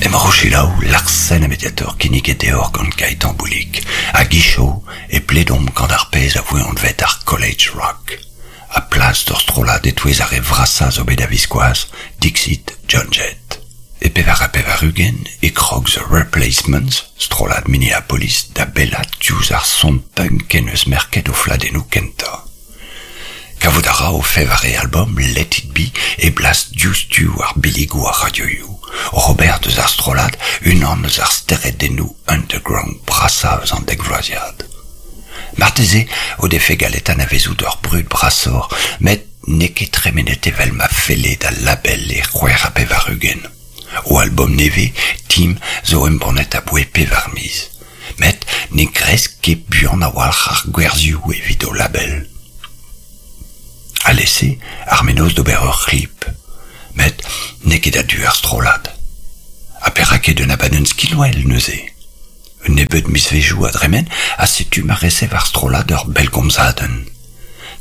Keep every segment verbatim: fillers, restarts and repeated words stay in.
Emaoc'h o selaou Larsen ha Mediator kinniget deoc'h gant Gaëtan Boulic. Hag hiziv e pledomp gant ar pezh a voe anvet ar College Rock. Ha plas d'ur strollad e-touez ar re vrasañ zo bet a-viskoazh, Dixit Joan Jett. E pevar ha pevar-ugent e krog The Replacements, strollad Minneapolis, da bellat diouzh ar son punk en eus merket o fladennoù kentañ. Kavout a ra o fevare album Let It Be e blas diouzhtu war billigoù ar radioioù. Robert eus ar strollad, unan eus ar steredennoù underground brasañ eus an dekvloaziad. Marteze o defe gallet anavezout ur brud brasoc'h, met n'eo ket tremenet evel ma felle d'al label e c'hwec'h ha pevar-ugent. O album nevez, Team, zo embannet aboae pevar miz. Met ne gresk ket buan a-walc'h ar gwerzhioù evit o label. Alese, ar mennozh d'ober ur c'hlip. Met n'eo ket a-du ar strollad. Ha perak ket un abadenn skinwel neuze? Un nebeud mizvezhioù a dremen ha setu ma resev ar strollad ur bellgomzadenn.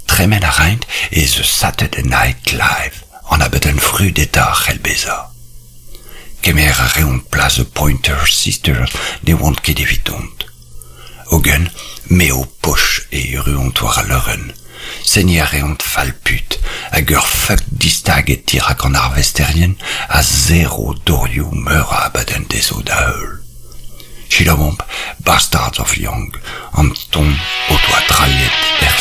Tremen a raint e The Saturday Night Live, an abadenn vrudetañ a c'hell bezañ. Kemer a reont plas The Pointer Sisters ne oant ket evit dont. Hogen, m'eo poch e erruont war al leurenn. Seniñ a reont fall-put hag ur fuck distaget dirak an arvesterien a serro dorioù meur a abadenn dezho da heul. Selaouomp Bastards of Young, an ton o doa drailhet er